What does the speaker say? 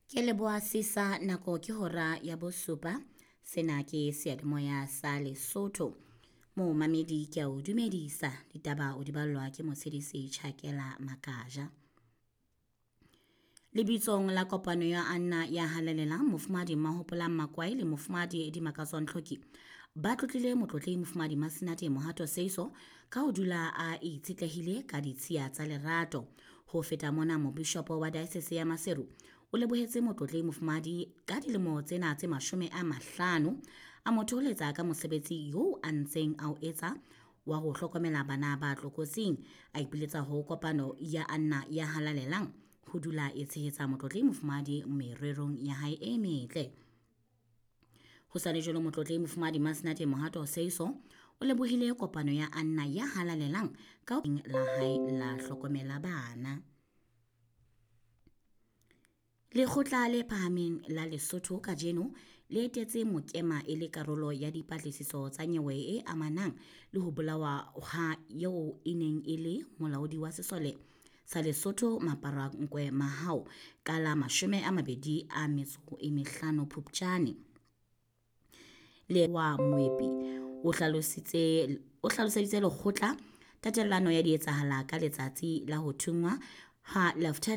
Ke leboha sisa nako ke hora ya bosupa. Sena ke seyalemoya sa Lesotho. Momamedi ke a o dumedisa. Ditaba o di ballwa ke Motshedisi Chakela Makaja. Lebitsong la kopano ya Anna ya halalelang Mofumadi Mahopolang Makwai le Mofumadi Dimakatso Ntlhoki ba tlotlile motlotlehi Mofumadi Masenate Mohato Seiso ka ho dula a itshetlehile ka ditshiya tsa lerato. Ho feta mona mobishopo wa diocese ya Maseru o lebohetse motlotlehi Mofumadi ka dilemo tsena tse 50 a mo thoholetsa ka mosebetsi eo a ntseng a o etsa wa ho hlokomela bana ba tlokotsing. A ipiletsa ho kopano ya Anna ya halalelang ho dula e tshehetsa motlotlehi Mofumadi mererong ya hae e metle. Ho sa le jwalo motlotlehi Mofumadi Masenate Mohato Seiso o lebohile kopano ya Anna ya halalelang ka la hae la hlokomela bana. Lekgotla le phahameng la Lesotho kajeno le etetse Mokema e le karolo ya dipatlisiso tsa nyewe e amanang le ho bolawa ha eo e neng e le molaodi wa sesole sa Lesotho Maparankwe Mahao ka la 25 Phupjane. Le wa Moepi o hlaloseditse lekgotla tatellano ya dietsahala ka letsatsi la ho thungwa ha Lieutenant